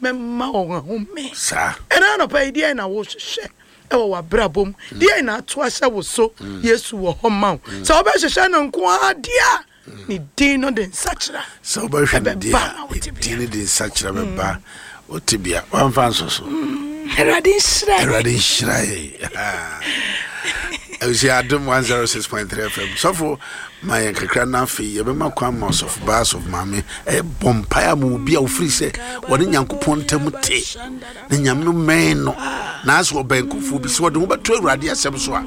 Mɛma wɔn ahome. Saa. Ɛna anɔpa yi, deɛn na wohwehwɛ wɔ w'abrabɔ mu? Deɛn na ato ahyɛ wo so? Yesu wɔ hɔ ma wo. Sɛ wobɛhwehwɛ no nko ara deɛ a, ne din no de nsakyera Sɛ wobɛhwɛ no deɛ ɛbɛba a, ma wo ne tebea. din no de nsakyera bɛba wo tebea. Wamfa nsɔ so. Awurade nhyira yɛn. Awurade nhyira yɛn. Abusua Adom 106.3 FM. Sɔfo ma yɛn kakra na afei yɛbɛma kwan ma ɔsɔfo baa sɔfo maame ɛbɔ mpae ama obi a ofiri sɛ wɔne Nyankopɔn ntam te na Nyame no mɛn no na asɛ ɔbɛn nkurɔfoɔ bi sɛ wɔde ho bɛto Awurade asɛm so a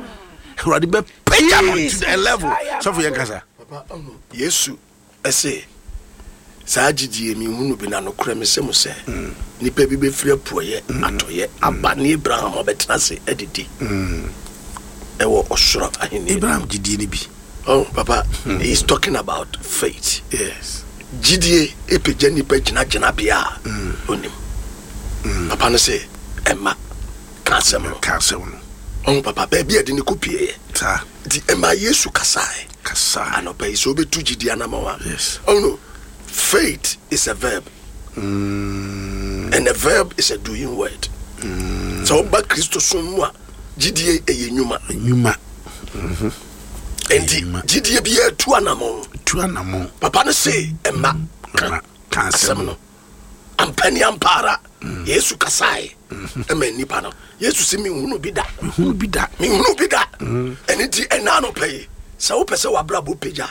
Awurade bɛpagya no to the level. Sɔfo yɛn kasa. Papa, Yesu se, Saa gyidie yi, menhunuu bi, na nokorɛ mese mo sɛ, nnipa bi bɛfiri apueɛ, atɔeɛ aba ne Abraham abɛtena ase adidi wɔ ɔsoro ahennie no mu. Abraham gyidie no bi. Oh, papa, he is talking about faith. Yes. Gyidie pagya nnipa gyina gyinabea a ɔnim. Papa no se, Ɛmma, ka asɛm no. Ka asɛm no. Ɔho papa, baabi a ɛde no kɔpieeɛ. Saa. Nti ɛmaa Yesu kasae. Kasae. Anɔpa yi, sɛ wobɛtu gyidie anamɔn a. Yes. Oh no, faith is a verb. And a verb is a doing word. Sɛ woba Kristosom mu a, gyidie ɛyɛ nnwuma. Nnwuma. Nti Nnwuma. gyidie biara tu anamɔn. Tu anamɔn. Papa no se ɛma ka Ka asɛm asɛm no. no. Ampa ni ampa ara, Yesu kasae ma nnipa no. Yesu se, Menhunu bi da. Menhunu bi da. Menhunu bi da. Ɛno nti, ɛna anɔpa yi, sɛ wopɛ sɛ w'abrabɔ pagya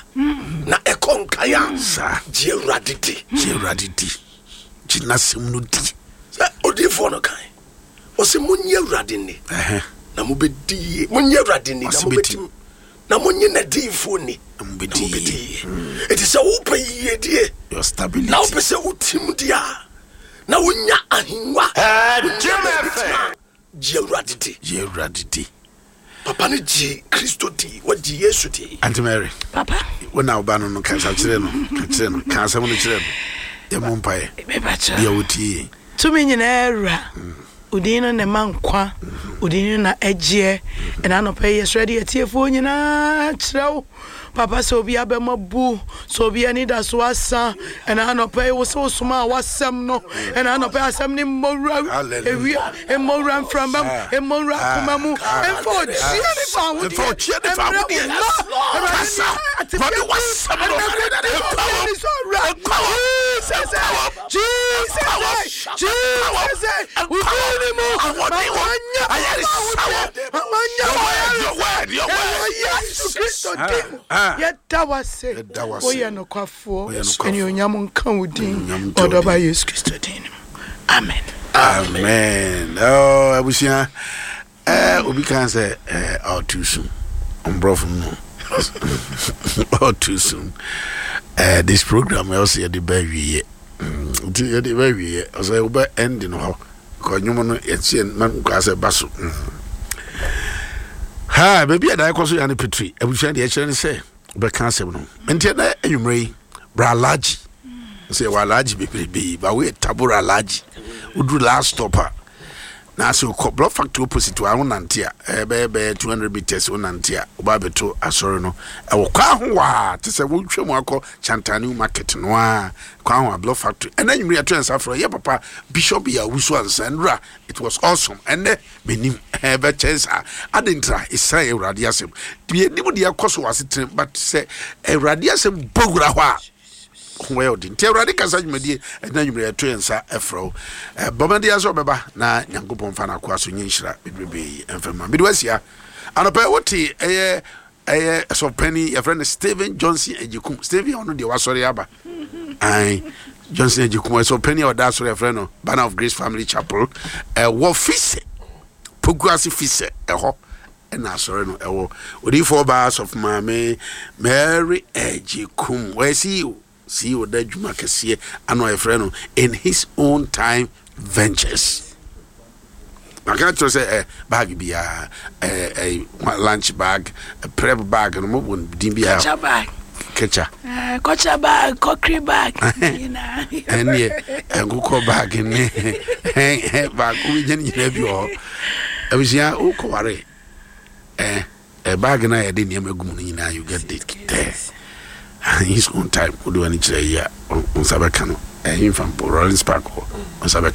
na ɛkɔ nkan a, Saa. gye Awurade di. Gye Awurade di. Gye n'asɛm no di. Sɛ odiyifoɔ no kae, ɔse, Monnye Awurade nni, na mobɛdi yie. Monnye Awurade nni, na Ɔse mobɛtim. Na monnye n'adiyifoɔ nni, Na na mobɛdi mobɛdi yie. yie. Enti sɛ wopɛ yiedie, Your stability. na wopɛ sɛ wotim di a, na wonya ahengua, wonya baabi tena a, gye Awurade di. Gye Awurade di. Papa no gyee Kristo dii, wɔgye Yesu dii. Auntie Mary, Papa. wo na wo ba no no kasa kyerɛ no, ka kyerɛ no, ka asɛm no kyerɛ no. Yɛmmɔ mpaeɛ. Mepakyɛ. Bia wotie yɛn. Tumi nyinaa Wura, Wo din no na ɛma nkwa, Wo din no na ɛgyeɛ. Ɛna anɔpa yi yɛsrɛ de atiefoɔ nyinaa kyerɛ wo, Papa, sɛ obi abam abu, sɛ obi anidaso asa, ɛna anɔpa yi wo sɛ wosomaa w'asɛm no, ɛna anɔpa yi asɛm no mmɔ wura ewia, mmɔ wura mframa mu, mmɔ wura akoma mu, mfa ɔgyeɛ ne fa ahodeɛ mmerɛ wo mma, Awurade ne atebea bi, ɛna kɔdi obi ani so awura, Jesus, Jesus, Jesus, wo din ni mu, ma wɔnyɛ wɔn ma wɔnyɛ wɔn ɛwɔ Yesu Kristo din mu. Yɛda wo ase, woyɛ nokwafoɔ, anuonyam nka wo din, ɔdɔba Yesu Kristo din mu. Amen. Amen. Oh, abusua. Eh, obi kan sɛ eh, all too soon. Mborɔfo no. All too soon. Eh, this program else yɛde ba awieɛ. Nti yɛde ba awieɛ. Ɔsɛ wobɛ end no hɔ. Kɔ nnwom no yɛte yɛn ma nkwaa sɛ ba so. Ha, baabi a da ɛkɔ so yɛ ne petri. Abusua deɛ ɛkyerɛ ne sɛ wobɛka asɛm no. Nti ɛnɛ anwummerɛ yi, bra alagye. Sɛ yɛwɔ alagye bebrebe, ba woyɛ tabora alagye. Woduru last stop a, na sɛ wokɔ block factory opposite wa wonante a ɛbɛyɛ bɛyɛ 200 meters wonante a woba abɛto asɔre no ɛwɔ kwan ho waa te sɛ wotwa mu akɔ Chantaniu market no a kwan ho a block factory ɛnɛ nwumere yɛto yɛn nsa frɛ yɛ papa bishop yɛ awusu ansa nwura it was awesome ɛnɛ menim ɛbɛkyɛn saa ade ntra ɛsiane awurade asɛm deɛ nim deɛ ɛkɔ so wɔ asetena but sɛ awurade asɛm bɔ wura hɔ a ho yɛ ɔden nti awurade kasa dwumadie ɛna nwumere ɛto yɛn nsa ɛfrɛ wo bɔmmɔden sɛ ɔbɛba na nyankopɔn fa no akoa so nyɛ nhyira bebrebe yi ɛmfa ma mede wasia anɔpɛ wote ɛyɛ ɛyɛ sɔpani yɛfrɛ no Stephen Johnson Agyekum Stephen ɔno deɛ wasɔre aba ae Johnson Agyekum ɛsɔpani a ɔda asɔre yɛfrɛ no Banner of Grace Family Chapel ɛwɔ Fisɛ Pokuase Fisɛ ɛhɔ ɛna asɔre no ɛwɔ odiyifoɔ baa asɔfo maame Mary Agyekum wɔyɛ CEO CEO da adwuma kɛseɛ ano a yɛfrɛ no in his own time ventures maka kyerɛ sɛ ɛ bag biara ɛ ɛ lunch bag prep bag no mo bɔ din biara kɔkya bag kɛkya kɔkya bag kɔkiri bag nyinaa ɛneɛ nkokɔ bag ne hɛn bag wobɛnya no nyinaa bi wɔ hɔ abusua wokɔware eh, eh, bag no a yɛde nneɛma gu mu no nyinaa you get it there his own time wode w'ani kyerɛ yi a wo nsa bɛka no ɛhemfa mpo Rollins Park hɔ wo nsa bɛka.